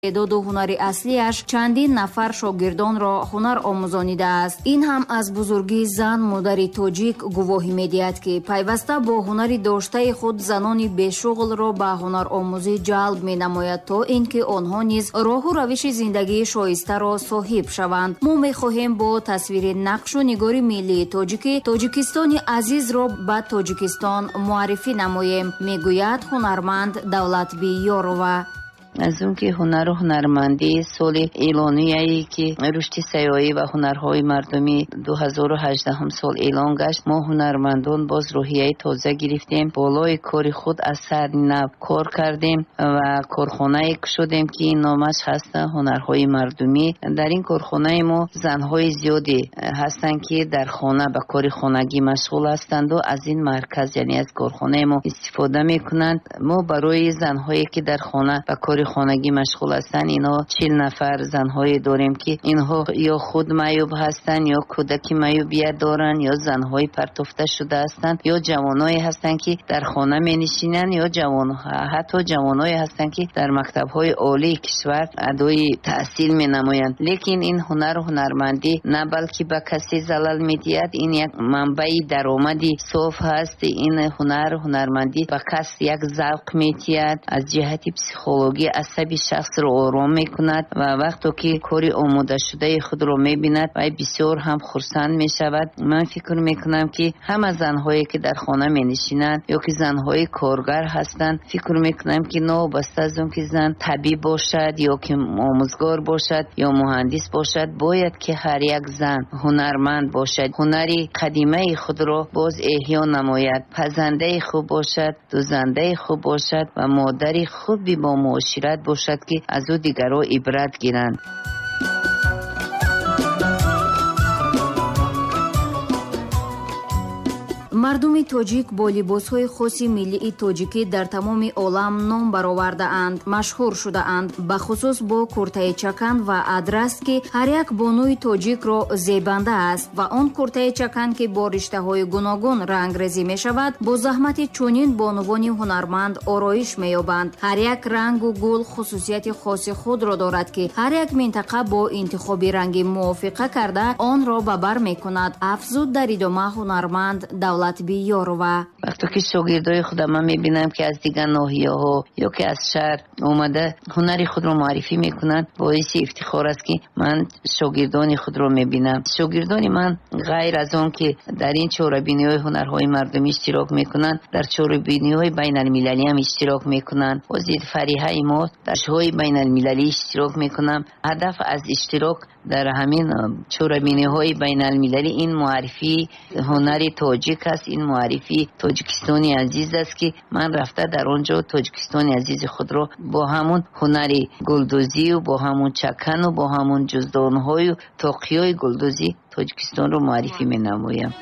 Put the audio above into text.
Истеъдоду ҳунари аслиаш чандин нафар шогирдонро ҳунар омӯзонидааст. Ин ҳам аз бузургии зан, модари тоҷик гувоҳӣ медиҳад, ки пайваста бо ҳунари доштаи худ занони бешуғлро ба ҳунаромӯзӣ ҷалб менамояд, то ин ки онҳо низ роҳу равиши зиндагии шоистаро соҳиб шаванд. Мо мехоҳем бо тасвири нақшу нигори миллии тоҷикӣ Тоҷикистони азизро ба Тоҷикистон муаррифӣ намоем, мегӯяд ҳунарманд Давлатбиёрова. Аз он ки ҳунару ҳунармандӣ соли эълонияе ки рушди сайёҳӣ ва ҳунарҳои мардумӣ 2018 сол эълон гашт, мо ҳунармандон боз рӯҳияи тоза гирифтем, болои кори худ аз сари нав кор кардем ва корхонае кушодем, ки номаш ҳаст ҳунарҳои мардумӣ. Дар ин корхонаи мо занҳои зиёде ҳастанд, ки дар хона ба кори хонагӣ машғул ҳастанду аз ин марказ, яъне аз корхонаи мо истифода мекунанд. Мо барои занҳое ки дар хона ба кори хонагӣ машғул ҳастанд, инҳо 40 нафар занҳое дорем, ки инҳо ё худ маъюб ҳастанд, ё кӯдаки маъюбият доранд, ё занҳои партофта шуда ҳастанд, ё ҷавоное ҳастанд, ки дар хона менишинанд, ё ҳатто ҷавоное ҳастанд, ки дар мактабҳои олии кишвар адои таҳсил менамоянд. Лекин ин ҳунару ҳунармандӣ на балки ба касе залал медиҳад, ин як манбаи даромади соф ҳаст. Ин ҳунару ҳунармандӣ ба кас як завқ медиҳад, аз ҷиҳати психологӣ асаби шахсро ором мекунад ва вақто ки кори омодашудаи худро мебинад, вай бисёр ҳам хурсанд мешавад. Ман фикр мекунам, ки ҳама занҳое ки дар хона менишинанд ё ки занҳои коргар ҳастанд, фикр мекунам, ки новобаста аз он ки зан табиб бошад ё ки омӯзгор бошад ё муҳандис бошад, бояд ки ҳар як зан ҳунарманд бошад, ҳунари қадимаи худро боз эҳё намояд, пазандаи хуб бошад, дӯзандаи хуб бошад ва модари хуби бо муошират бошад, ки аз ӯ дигарро ибрат гиранд. Мардуми тоҷик бо либосҳои хоси миллии тоҷикӣ дар тамоми олам ном баровардаанд, машҳур шудаанд, бахусус бо куртаи чакан ва адрас, ки ҳар як бонуи тоҷикро зебанда аст ва он куртаи чакан, ки бо риштаҳои гуногун рангрезӣ мешавад, бо заҳмати чунин бонувони ҳунарманд ороиш меёбанд. Ҳар як рангу гул хусусияти хоси худро дорад, ки ҳар як минтақа бо интихоби ранги мувофиқа карда онро ба бар мекунад, афзуд дар идома ҳунарманд Давлатбиёрова. Вақто ки шогирдои худам ман мебинам, ки аз дигар ноҳияҳо ё ки аз шаҳр омада ҳунари худро муаррифӣ мекунанд, боиси ифтихор аст, ки ман шогирдони худро мебинам. Шогирдони ман ғайр аз он ки дар ин чорабиниҳои ҳунарҳои мардумӣ иштирок мекунанд, дар чорабиниҳои байналмилалӣ ҳам иштирок мекунанд. Ҳозир Фариҳаи мо дар шоҳои байналмилалӣ иштирок мекунам. Ҳадаф аз иштирок дар ҳамин чорабиниҳои байналмилалӣ ин муаррифии ҳунари тоҷик аст, ин муаррифии Тоҷикистони азиз аст, ки ман рафта дар он ҷо Тоҷикистони азизи худро бо ҳамун ҳунари гулдӯзию бо ҳамун чакану бо ҳамун ҷуздонҳою тоқиёи гулдӯзӣ Тоҷикистонро муаррифӣ менамоям.